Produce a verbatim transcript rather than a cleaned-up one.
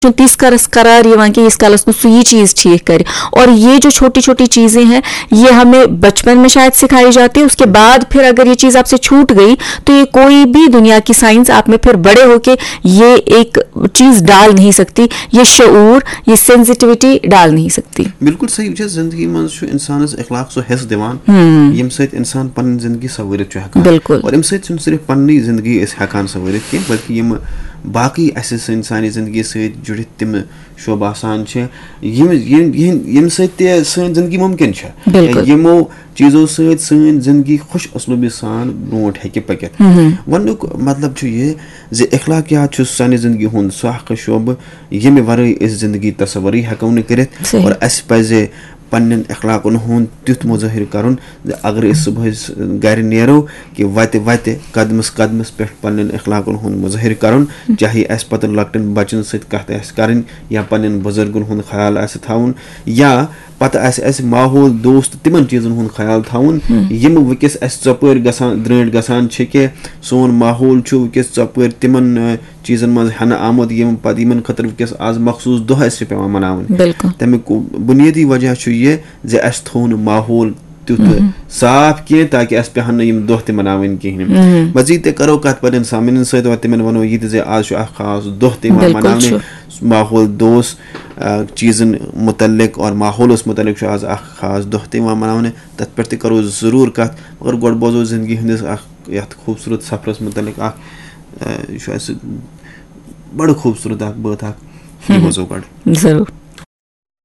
چھُنہٕ تیٖتِس کالس قرار یِوان کہِ ییٖتِس کالس نہٕ سُہ یہِ چیٖز ٹھیٖک کرِ۔ اور یہ جو چھوٹی چھوٹی چیزیں ہیں، یہ ہمیں بچپن میں شاید سکھائی جاتی ہے، اس کے بعد پھر اگر یہ چیز آپ سے چھوٹ گئی تو یہ کوئی بھی دنیا کی سائنس آپ میں پھر بڑے ہو کے یہ ایک چیز ڈال نہیں سکتی، یہ شعور، یہ سینسٹیوٹی ڈال نہیں سکتی۔ بالکل صحیح، وٕچھ حظ، زندگی منٛز چھُ انسانس اخلاق سُہ حصہٕ دِوان، ییٚمہِ سۭتۍ انسان پنٕنۍ زندگی سوٲرِتھ چھُ ہٮ۪کان۔ بالکل۔ اور امہِ سۭتۍ چھُنہٕ صرف پننی زندگی أسۍ ہٮ۪کان سوٲرِتھ کینٛہہ، بلکہِ یِم باقٕے اسہِ سٲنۍ، سانہِ زندگی سۭتۍ جُڑِتھ تِم شعبہٕ آسان چھِ، یِم یِم یِہِنٛد ییٚمہِ سۭتۍ تہِ سٲنۍ زندگی مُمکِن چھےٚ۔ بالکل۔ یِمو چیٖزو سۭتۍ سٲنۍ زندگی خۄش اسلوٗبی سان برونٛٹھ ہیٚکہِ پٔکِتھ۔ وننُک مطلب چھُ یہِ زِ اخلاقیات چھُ سانہِ زندگی ہُنٛد سُہ اکھ شعبہٕ، ییٚمہِ ورٲے أسۍ زندگی تصورٕے ہٮ۪کو نہٕ کٔرِتھ۔ صحیح۔ اور اسہِ پزِ پننٮ۪ن اخلاقن ہُنٛد تیُتھ مظٲہر کرُن زِ اگر أسۍ صبحٲے س-، گرِ نیرو، کہِ وتہِ وتہِ، قدمس قدمس پٮ۪ٹھ پننٮ۪ن اخلاقن ہُنٛد مظٲہر کرُن، چاہے اسہِ پتہٕ لۄکٹٮ۪ن بچن سۭتۍ کتھ آسہِ کرٕنۍ، یا پننٮ۪ن بزرگن ہُنٛد خیال آسہِ تھاوُن، یا پتہٕ آسہِ اسہِ ماحول دوست تِمن چیٖزن ہُنٛد خیال تھاوُن، یِم وٕنکیٚس اسہِ ژۄپٲرۍ گژھان، درٛٲنٛٹھۍ گژھان چھِ، کہِ سون ماحول چھُ وٕنکیٚس ژۄپٲرۍ تِمن، آ، چیٖزن منٛز ہٮ۪نہٕ آمُت، یِم پتہٕ، یِمن خٲطرٕ وٕنکیٚس آز مخصوٗص دۄہ اسہِ چھِ پٮ۪وان مناوٕنۍ۔ بالکل۔ تمیُک بُنیٲدی وجہ چھُ یہِ زِ اسہِ تھوٚو نہٕ ماحول تیُتھ صاف کینٛہہ، تاکہِ اسہِ پیٚہن نہٕ یِم دۄہ تہِ مناوٕنۍ کِہیٖنۍ۔ مزید تہِ کرو کتھ پننٮ۪ن سامعیٖنن سۭتۍ، اور تِمن ونو یہِ تہِ زِ آز چھُ اکھ خاص دۄہ تہِ یِوان بالکل مناونہٕ، چھُ۔ ماحول دوست، آ، چیٖزن متعلق اور ماحولس متعلق چھُ آز اکھ خاص دۄہ تہِ یِوان مناونہٕ۔ تتھ پٮ۪ٹھ تہِ کرو ضروٗر کتھ، مگر گۄڈٕ بوزو زندگی ہٕنٛدِس اکھ یتھ خوٗبصوٗرت سفرس متعلق اکھ، آ، یہِ چھُ اسہِ بڑٕ خوٗبصوٗرت اکھ بٲتھ اکھ، یہِ بوزو گۄڈٕ۔ ضروٗر۔